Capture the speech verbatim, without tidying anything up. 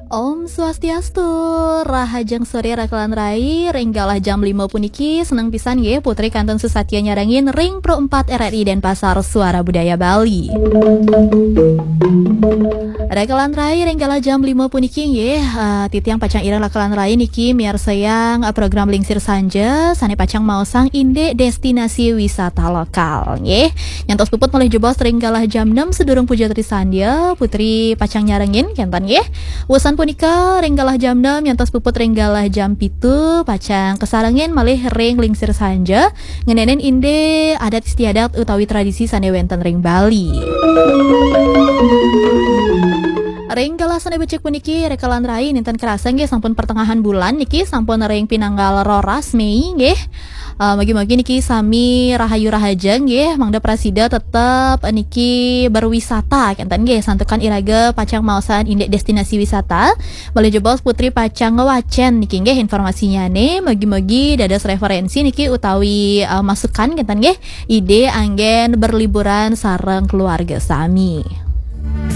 Om Swastiastu, rahajeng sore rekan rai, ring galah jam lima puniki, seneng pisan nggih Putri kantun susatia nyarengin ring Pro empat R R I Denpasar Suara Budaya Bali. Rekan rai, ring galah jam lima puniki nggih, eh, titiang pacang ireng rekan rai niki miarsayang, eh, program Lingsir Sanja sane pacang maosang indik destinasi wisata lokal nggih. Nyantos puput malih jebos ring galah jam enam sedurung puja trisandya, Putri pacang nyarengin kenten nggih. Wusan punika ring galah jam enam nyantos puput ring galah jam pitu pacang kasarengin malih ring Lingsir Sanja ngenenin indik adat istiadat utawi tradisi sane wenten ring Bali. Ring galah sane becik puniki rekan rai, nenten kerasa nggih sampun pertengahan bulan niki, sampun ring pinanggal roras Mei nggih. Eh, mugi-mugi niki sami rahayu rahaja nggih, mangda prasida tetep niki berwisata kenten nggih, santukan iraga pacang maosang indik destinasi wisata. Malih jebos Putri pacang ngwacen niki nggih informasinyane, mugi-mugi dados referensi niki utawi, eh, masukan kenten nggih, ide anggen berliburan sareng keluarga sami.